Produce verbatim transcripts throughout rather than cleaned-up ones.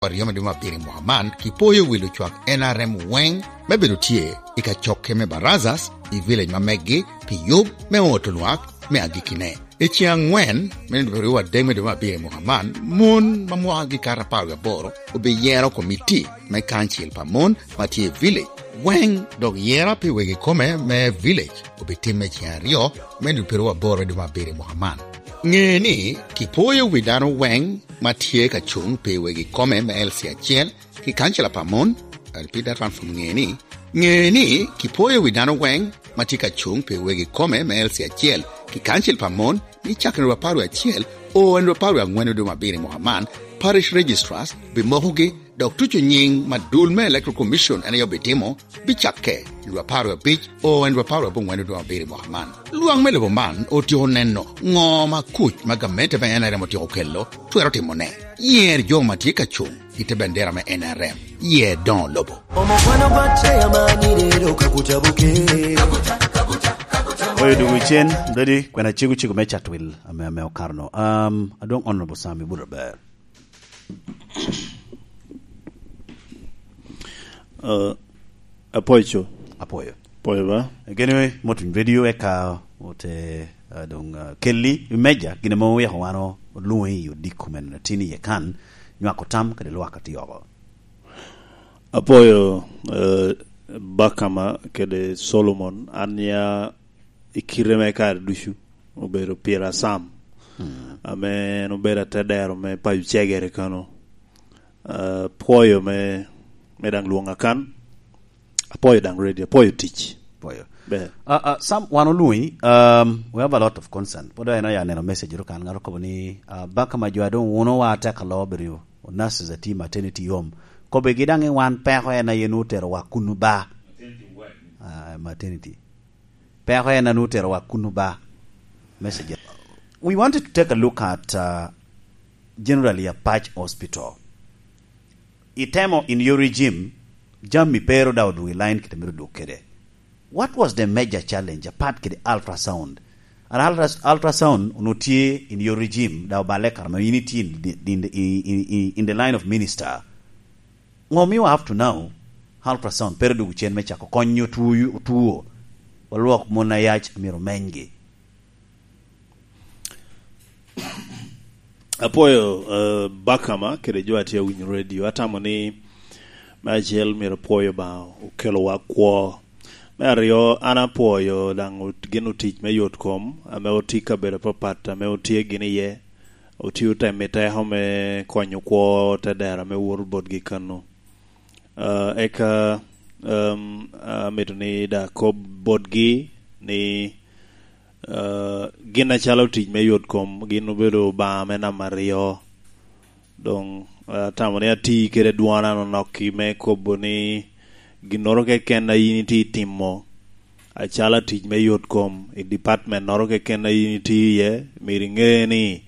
aryo me dwe me abiro i mwaka man, kipoyo wi lucwak N R M weŋ me bedo tye i kacokke me Barazas i village ma meggi pi yub me oto lwak me agikkine. I ceŋ aŋwen me dwe ryo adek me dwe me abiro i mwaka man, mon ma mwakgi kato apar wie aboro obiyero komiti me kancil pa mon ma tye i village weŋ, dok yera pi wegi kome me village obitimme i ceŋ aryo me dwe ryo aboro me dwe me abiro i mwaka man. Ŋe ni, kipoyo wi dano weŋ ma tye ka cuŋ pi wegi kome me L C acel ki kancil pa mon, I repeat that one from ŋe ni, ŋe ni, kipoyo wi dano weŋ ma tye ka cuŋ pi wegi kome me L C acel ki kancil pa mon, ni cakere dwe apar wie acel o en dwe apar wie aŋwen dwe me abiro i mwaka man, parish registrars bimokogi, dok tuco nyiŋ ma dul me Electoral Commission en aye obitimo, bicakke i dwe apar wie abic o en dwe apar wie aboŋwen dwe me abiro i mwaka man. Lwak me lobo man otyeko neno ŋo ma kuc ma gamente me N R M otyeko kelo twero timone. Yer jo ma tye ka cuŋ i te bendera me N R M. Yer doŋo lobo. Oyo dugu cen, dodi kwena cego cego me Chatwil ame, ame okarno. Um, adwong Honorable Sam, ibuto ber. Uh, apoyo co. Apoyo. Apoyo ba. Gene motuny radio eka ote, uh, dong, uh, kelli i meja, gine mo weko wano olungi i odiko men tin iye kan, nywako tam kede lwak ati oko. Apoyo, uh, Bakama kede Solomon, an ya i kite me kare ducu obedo pira Sam, mm, ame en obedo atedero me payo cegere kano. Ah, pwoyo me, me daŋ lwoŋa kan. Apwoyo daŋ ready, apwoyo tic. Pwoyo. Ber. Ah, ah, Sam, wan olwoŋi, um, we have a lot of concern. Pwod en oya neno message ru kan, ŋat okobo ni, ah, Bakama jo a doŋ wuno wa atek alo obedo nurses ati maternity home. Kobegi daŋ i wan peko en aye nu otero wa kunu ba. Ah, maternity. Peko en anu otero wa kunu ba. Message. We wanted to take a look at, uh, generally Apac Hospital. Itemo in your regime, jami pero da odwogo i line kite mito dwog kede. What was the major challenge apart kede ultrasound? An ultras-, ultrasound ono tye in your regime, da obale kara ma in itye in the, in the, in, in, in the line of minister. Ŋo mio up to now, ultrasound pere dwogo cen me cako konyo tuo, tuo? Walwok mon ayac myero omenygi. Apwoyo, eh, Bakama kede jo a tye awinyo radio. Atamo ni me acel myero apwoyo Obaŋa okelowa kwo. Me aryo, an apwoyo daŋ ot-, gin otic me yot kom ame otye i kabedo apapat ame otye gin iye. Otio temo i teko me konyo kwo te dero ame woto botgi kano. Ah, eka, em, amito ni da akob botgi ni, ah, gin acalo tic me yot kom, gin obedo Obaŋa me namba aryo. Doŋ, ah, atamo ni ati kede dwona nonokki me kobo ni ginnoro keken a in itye timo, acalo tic me yot kom i department-noro keken a in itye iye, myero iŋe ni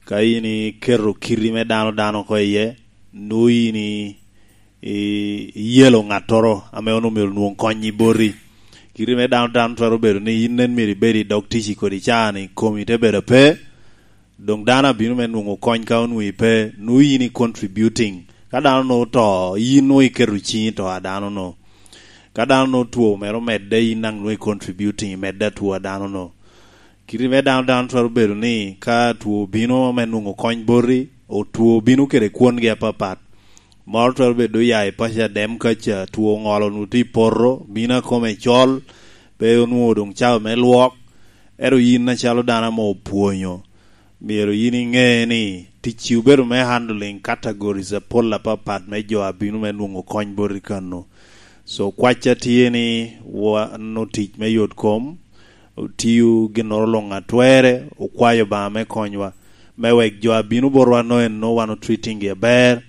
ka in iketo kiti me dano dano oko iye, nwoŋo in i-, i-, iyelo ŋattoro ame onwoŋo myero onwoŋ kony i boti. Kiti me dano dano twero bedo ni in nen myero ibed i dog tic i kodi caa ni komi te bedo ape, doŋ dano abino me nwoŋo kony ka onwoŋo ipe, nwoŋo in i contributing. Ka dano nwoŋo oto, in nwoŋo iketo ciŋi i to a dano-nu. Ka dano nwoŋo two mere omedde, in daŋ nwoŋo i contributing, imedde atwo a dano-nu. Kiti me dano, dano twero bedo ni ka two obino me nwoŋo kony boti, o-, two obino kede kwongi apapat. Moro twero bedo oya i paco adem kaca, two oŋolo nwoŋo tye i poto, bino akome col, pe onwoŋo doŋ cawa me lwok. Ento in acalo dano ame opwonyo, myero in iŋe ni ticci obedo me handling categories apol apapat me jo a bino me nwoŋo kony boti kano. So, kwacca tye ni wan otic me yot kom, otio ginnoro luŋ a twerre, okwayo Obaŋa me konywa, me wek jo a bino botwa no en no wan otreating-gi aber,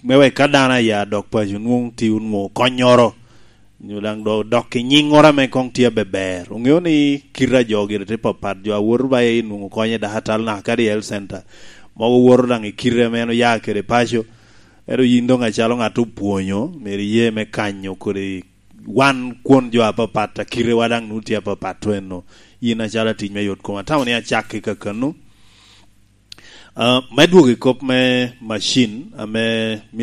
me wek ka dano aya dok paco nwoŋo tye onwoŋo konnyoro, nyo daŋ do-, dok i nyiŋŋoro ame koŋ tye abeber. Oŋeo ni kite a jo gire tye papat, jo a woto ba i nwoŋo kony i dakatal naka kadi i health center, mogo woto daŋ i kite ame en oya kede paco. Ento yin doŋ acalo ŋat opwonyo, myero iye me kanyo kodi wan kwon jo apapat, a kitewa daŋ nwoŋo tye apapat tweno. Yin acalo atic me yot kom, atamo ni acak i kakano. Ah, me dwogo i kop me macin ame myero